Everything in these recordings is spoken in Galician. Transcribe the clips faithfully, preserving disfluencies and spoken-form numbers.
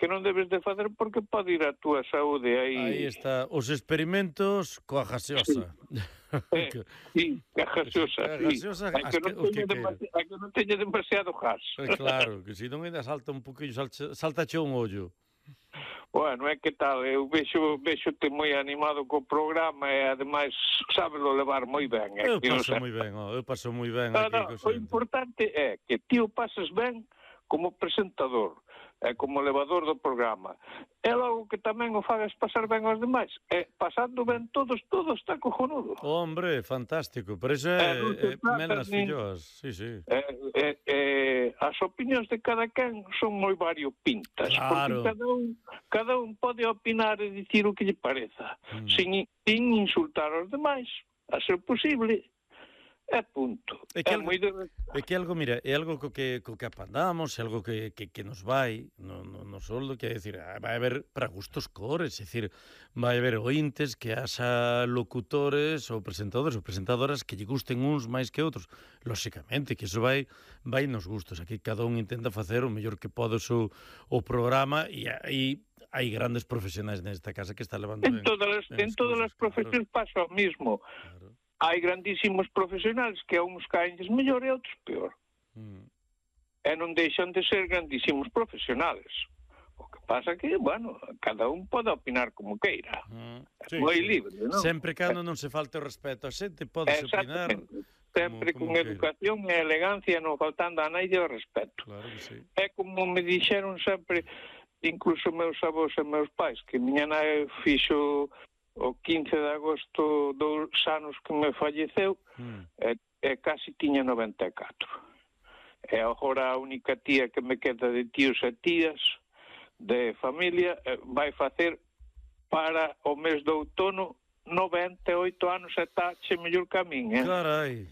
que non debes de facer porque pode ir a túa saúde aí. Aí está, os experimentos coa gaseosa. Eh, sí, a gaseosa, A sí. gaseosa, Hai que, as que, non os que teña queira. demasi- hai que non teña demasiado gas. Eh, Claro, que se non ainda salta un poquillo, salta, saltache un ollo. Bueno, é que tal, eu vexo, vexote moi animado co programa e ademais sábelo levar moi ben. É Eu que, paso o sea, moi ben, oh, eu paso moi ben no, aquí no, co o xente. importante é que ti o pases ben como presentador, e como elevador do programa. E logo que tamén o fagas pasar ben aos demais. E pasando ben todos, todo está cojonudo. Hombre, fantástico, por eso Eh, non é, se é mel trata nas nin- filloas, sí, sí. Eh, eh, eh, as opinións de cada quen son moi variopintas, Claro. porque cada un, cada un pode opinar e dicir o que lle pareza, Mm. sin, sin insultar aos demais, a ser posible, e punto. É que É algo- moi de... É que algo, mira, é algo co que, co que apandamos, é algo que, que, que nos vai no, no, no soldo, que é dicir, ah, vai haber para gustos cores, é dicir, vai haber ointes que haxa locutores ou presentadores ou presentadoras que lle gusten uns máis que outros. Lóxicamente, que iso vai vai nos gustos. Aquí cada un intenta facer o mellor que pode o seu o programa e aí hai grandes profesionais nesta casa que está levando En ben, todas as, ben en as todas cousas, as profesións pasa o mismo. Claro, Hai grandísimos profesionales que a uns caenlles mellor e a outros peor. claro. Mm. E non deixan de ser grandísimos profesionales. O que pasa que, bueno, cada un pode opinar como queira. Mm. É moi libre, non? Sempre cando non se falte o respeto a xente, podes opinar. Exactamente. Sempre como con queira. educación e elegancia, non faltando a naide o respeto. Claro que sí. É como me dixeron sempre, incluso meus avós e meus pais, que miña nai fixo o quince de agosto dos anos que me falleceu, Mm. e, e casi tiña noventa e catro. E agora a única tía que me queda de tíos e tías de familia eh, vai facer para o mes de outono noventa e oito anos e está che mellor que a min, eh? Carai.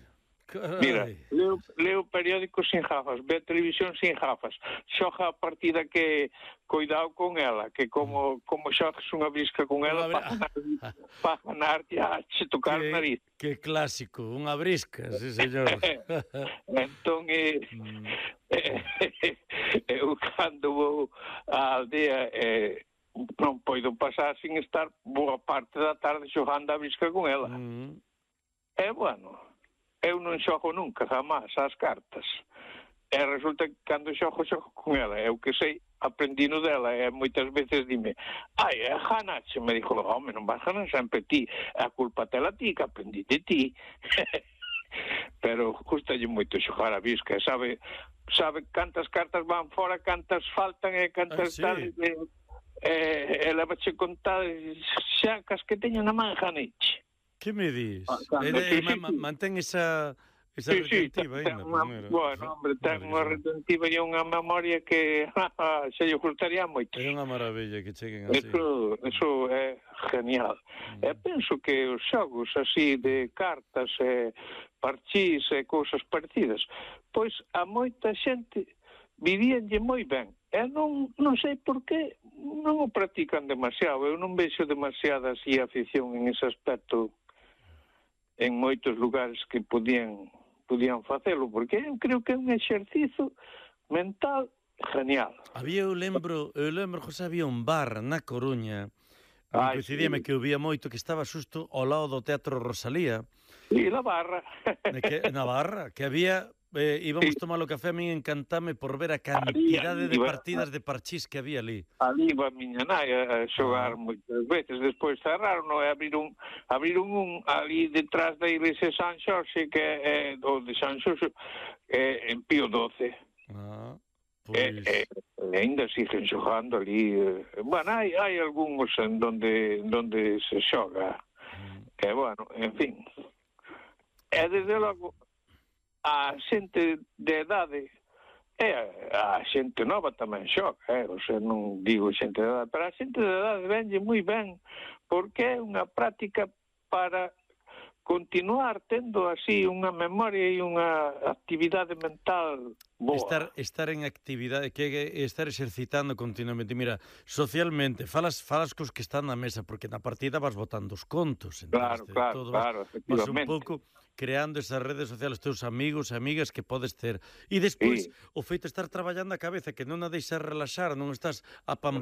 Carai. Mira, leo, leo periódicos sin gafas, ve televisión sin gafas, xoga a partida que cuidado con ela, que como como xogas unha brisca con ela Unha bri- para ganar, para ganar ya che tocar o nariz. Que clásico, unha brisca, sí, señor. Entón, eh, Mm. eh, eu cando vou á aldea eh, non poido pasar sin estar boa parte da tarde xogando a brisca con ela. Mm. E, bueno, eu non xogo nunca, jamás, as cartas. E resulta que cando xogo, xogo con ela. Eu que sei, aprendino dela. E moitas veces dime, ai, é ganache. Me dixo, home, non vas ganar sempre ti. A culpa tela ti, que aprendi de ti. Pero gustalle moito xogar a bisca. E sabe, sabe cantas cartas van fora, cantas faltan e cantas Ah, sí? tal. E, e, e levache contar, xa cas que teño na man ganeche. Que me dis? Ah, cando E, e, que ma, sí, ma, sí. mantén esa esa Sí, sí, retentiva ten ainda. unha, Mira, bueno, hombre, ten mira unha que retentiva e unha memoria que se lle gustaría moito. É unha maravilla que cheguen así. Eso, eso é genial. Mm. E penso que os xogos así de cartas e parchís e cousas parecidas, pois a moita xente vivíanlle moi ben. E non, non sei por qué non o practican demasiado. Eu non vexo demasiada así afición en ese aspecto en moitos lugares que podían podían facelo, porque eu creo que é un exercizo mental genial. Había, eu lembro, eu lembro, José, había un bar na Coruña, Ai, coincidíame sí. que eu vía moito, que estaba xusto ao lado do Teatro Rosalía, E la barra. de que, na Barra, que había, eh, íbamos Sí. tomar o café, a min encantame por ver a cantidade ali de iba- partidas de parchís que había ali. Ali iba a miña nai a xogar Ah. moitas veces, despois cerraron e abriron, abriron un ali detrás da iglesia de San Xorxe, que é o de San Xorxe, é en Pío doce. Ah, E, pois... e, e ainda siguen xogando ali. eh, Bueno, hai, hai algúns en donde, donde se xoga. Mm. E, bueno, en fin. E, desde logo, a xente de edade e a xente nova tamén xoga, eh? O sea, non digo xente de edade, pero a xente de edade venlle moi ben, porque é unha práctica para continuar tendo así unha memoria e unha actividade mental boa. Estar, estar en actividade, que é estar exercitando continuamente. Mira, socialmente, falas, falas cos que están na mesa, porque na partida vas botando os contos. Claro, claro, todo, claro, vas, efectivamente. Vas un pouco creando esas redes sociales, teus amigos e amigas que podes ter. E despois, Sí. o feito de estar traballando a cabeza, que non a deixas relaxar, non estás a pam